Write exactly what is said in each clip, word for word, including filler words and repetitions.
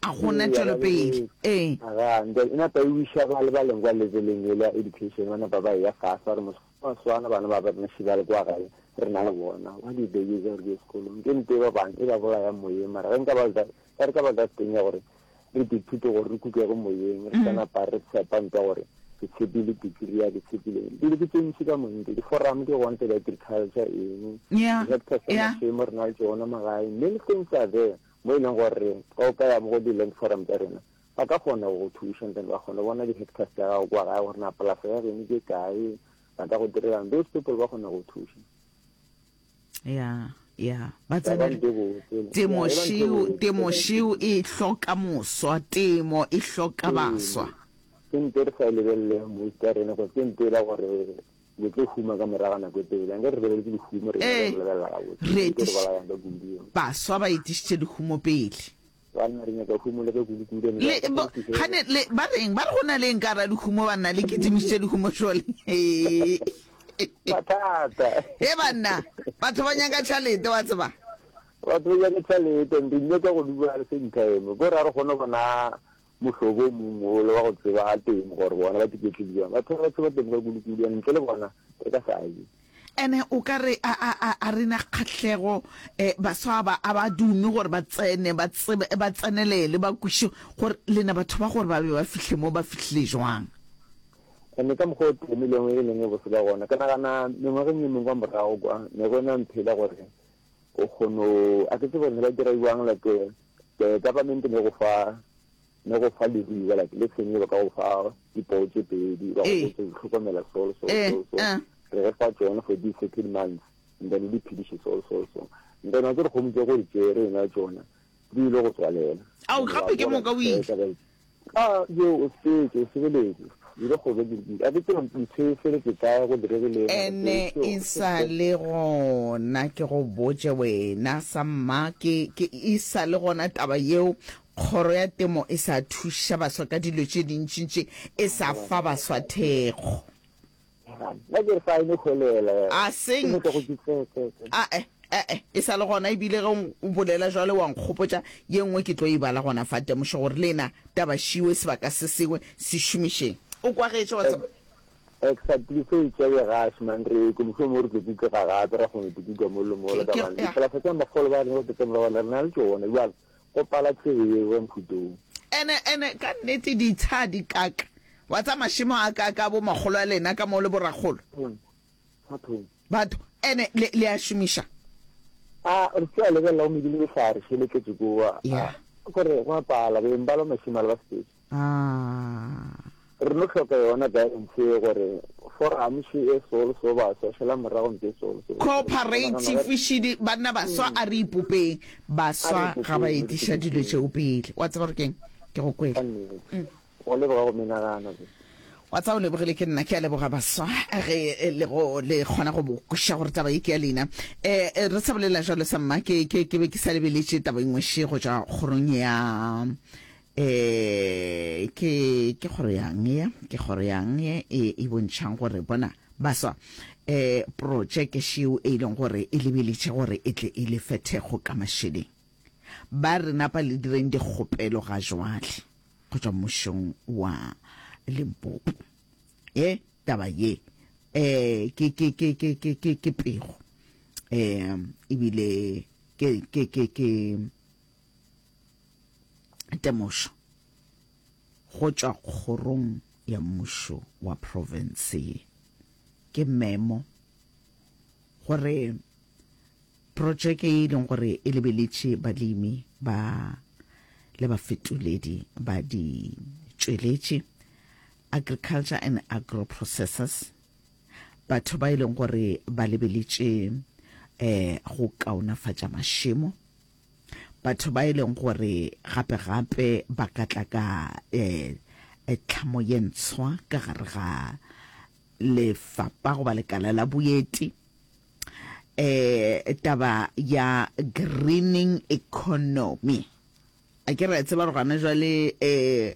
A gona Ee, tšwelopele. bereke. Ee. Aga, and then e napa e wiša ba le ba leng kwa leveleng ele ya education, ba napa ba eya fase, ba re mos ba swana bana ba ba rena še ba le kwa gae, re na le bona. What is the use ya gore ke ye sekolong? Ke nto e ba bang e ba bolayang moyeng, mara ge nka ba that, ge re ka ba that thing ya gore re ithute gore re kukege moyeng, re sa napa re tshepa nto ya gore ke tshepile degree ya, ke tshepile eng. Dilo ke tše ntši ka montle, di-forum di gona tša di-agriculture eng, Yeah, di-hectares tša yeah. mašemo re na le tšona magae, many things are there mo e leng gore ge o ka ya mo go di-land forum tša rena, ba ka kgona go go thuša and then ba kgona go bona di-hectares tša gago kwa gae gore na polasa ya geno ke kae, ba ka go direlang. Those people ba kgona go thuša. Ya, ya. Ba Ya ba tsena ntho e botse. Ya temo e ba ntho e šeo, botse. temo šeo e hloka moswa, temo e hloka Ee, baswa. ke nto e re sa e lebeleleng most ya rena gore ke nto e la gore le tlo huma ka morago ga nako e telele. Anke re lebeletse lehumo rena Ee, re lebelela gabotse. re Ke nto e re etiš, bolayang ka kudu eo. baswa ba etišitše lehumo pele. Banna re nyaka humo le ka kudu-kudu and Le, ka bo, kgonthišo gane, le, ba reng, ba re go na le eng ka gara lehumo banna, le kitimišitše lehumo šole. Mathata. He banna, batho ba nyaka tšhalete wa tseba. Batho ba nyaka tšhalete and re nyaka go dula at the same time. Ko re ga re kgone go bona mohlobo o mongwe ole wa go tseba temo gore bona ba tiketlile jwang. Batho ba ba tseba temo ka kudu-kudu and ntle le bona re ka sa je. Ene o ka re a, a, a, a re na kgahlego, eh, baswa ba a ba dume gore ba tsene, ba tsebe, ba tsenelele, ba kweše gore lena batho ba gore ba be ba fihle mo ba fihlile jwang. Ene ka mokgwa o temo e leng e leng e bose ka gona, ke nagana mengwageng e mengwe kwa morago kwa ne go ena ntho e le gore o kgono, a ke tsebe gore ne ba dira jwang, like, eh, government ne go fa, ne go fa leruiwa, like le sengwe ba ka go fa dipoo tše pedi, ba go Ee. botša go hlokomela so, so, Ee, so, so. eh. Re re fa tšona for these certain months, and then o di phediše so, so, so. And then wa tsere kgomo tše go di tšere ena tšona, di ile go tswalela. Ao, And wa gape ke bona moka o ile. tšhelete ba- Ah, yo, o fetše, o sebeletše. Ile go be ke- a ke tsebe ntho e feletše kae, go diregile eng, Ene mara e ke- sa le gona, ke go botše wena samma, ke, ke e sa le gona taba yeo. Kgoro ya temo e sa thuša baswa ka dilo tše dintšintši, e sa fa baswa thekgo. Nna ke re fa e no hwelela. A Ke seng. nyaka go ke tse- tse- tse. Ae, ae, e sa le gona. Ebile ge o bolela jwale wa nkgopotša ye nngwe ke tlo e bala gona fa temošo gore lena taba šiwe sebaka se sengwe se šomišeng. O kwagetše wa tseba. Exactly, se e tšea gaše man, re ko mohlomongwe re tlo kukega gape, ra kgona go kuka mo le mo le Ke, ka ke, bane. ya. Dipolasa tša makgolo ba rena ba tla morago re na le tšona, bjale go pala tsebe yeo ya mohuta o. Ene, ene ka nnete ditsha di kaka. Wa tsa mašemo a kaka bo makgolo a lena ka mo le borakgolo. Hmm. Batho. Batho, ene le, le a šomiša. A, re tla lebelela go medile mehlare, šele tletše koa. Ya. A, gore go a pala, beng ba lo mašemo a le ba sepetše. Ah. Re no hloka yona guidance ye gore forum še e so le so baswa, šala morago ntse e so le so. Cooperative šidi, banna baswa a re ipopeng. Baswa A re ga ba ipopeng, re etiša dilo ipopeng. tšeo pele. Wa tseba gore keng? Ke go kwele. Ka nnete. Go leboga go menagano. Wa tseba o lebogile ke nna, ke a leboga baswa ge le go le kgona go bo kweša gore taba ye ke ya lena. Eh, re sa bolela jwalo sa mma, ke, ke, ke be ke sa lebeletše taba e nngwe še go tšwa kgorong ya, eh, ke, ke kgoro yang ye, ke kgoro yang ye e, e bontšhang gore bona baswa, eh, projeke šeo e leng gore e lebeletše gore e tle e lefe thekgo ka mašeleng. Ba re napa le direng dikgopelo ga jwale go tšwa mmušong wa Limpopo. E taba ye, eh, ke, ke, ke, ke, ke, ke, ke pego, eh, ebile ke, ke, ke, ke temošo go tšwa kgorong ya mmušo wa province ye. Ke memo gore projeke e leng gore e lebeletše balemi ba le bafetoledi ba di tšweletše, agriculture and agro processors, batho ba e leng gore ba lebeletše, eh, go kaonafatša mašemo, batho ba e leng gore gape gape ba ka tla ka, eh, tlhamo ye ntshwa ka gare ga lefapa goba lekala la boeti, eh, taba ya greening economy. A ke re a tseba gore gona jwale, eh,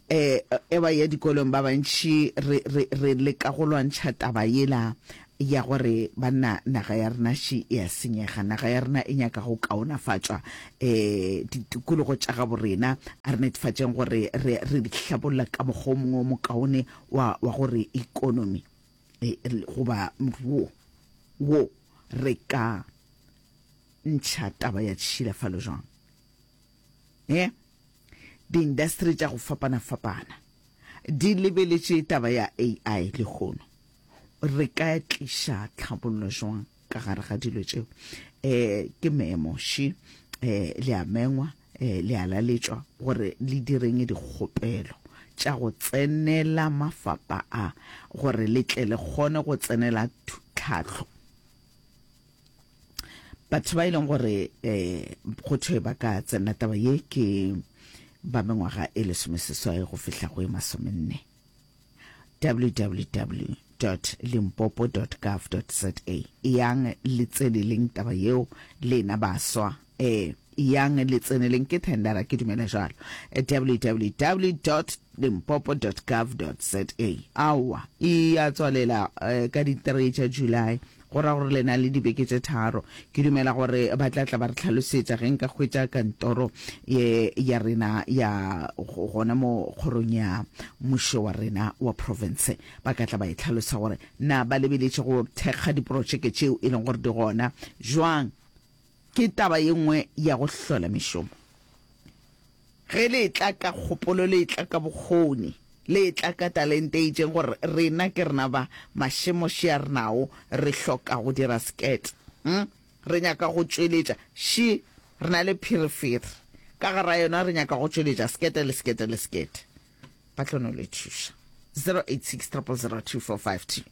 eh, e ba ya dikolong ba bantši re, re, re leka go lwantšha taba yela ya gore banna naga ya rena še e a senyega, naga ya rena e nyaka go kaonafatšwa, um ditikologo tša gabo rena a re netefatšeng gore re re di hlabolla ka mokgwa o mongwe o mokaone wa wa gore ikonomi e, goba moruo wo re ka ntšha taba ya tšhilafalo jwang. E diindasteri tša go fapana-fapana di lebeletše taba ya A I lehono. Re ka tliša tlhabollo jwang ka gare ga dilo tšeo? um ke memo še, um le a mengwa, um le a laletšwa gore le direng dikgopelo tša go tsenela mafapa a gore le tle le kgone go tsenela tlhahlo. Batho ba e leng gore um go thwe ba ka tsenela taba ye ke ba mengwaga e lesomeseswai go fihla go e masomenne. W W W dot limpopo dot gov dot za, eyang le tseneleng taba yeo lena baswa, eh eyang le tseneleng, ke thendera, ke dumela jalo. W W W dot limpopo dot gov dot za. Aowa, e ya tswalela eh, ka di three tša July, go ra gore le na le dibeke tše tharo. Ke dumela gore ba tla tla ba re tlhalosetša ge nka hwetša kantoro ye ya rena ya gona mo kgorong ya mmušo wa rena wa province, ba ka tla ba e tlhalosa gore na ba lebeletše go thekga diprotšeke tšeo e leng gore di gona jwang. Ke taba ye nngwe ya go hlola mešomo. Ge le tla ka kgopolo, le tla ka bokgoni, le tla ka talente e itšeng gore rena ke rena ba mašemoši a renao, re hloka go dira sekete, hm? Re nyaka go tšweletša ši, re na le phirifiri ka gara yona, re nyaka go tšweletša sekete le sekete le sekete, ba tlo no le thuša. zero eight six triple zero two four five two.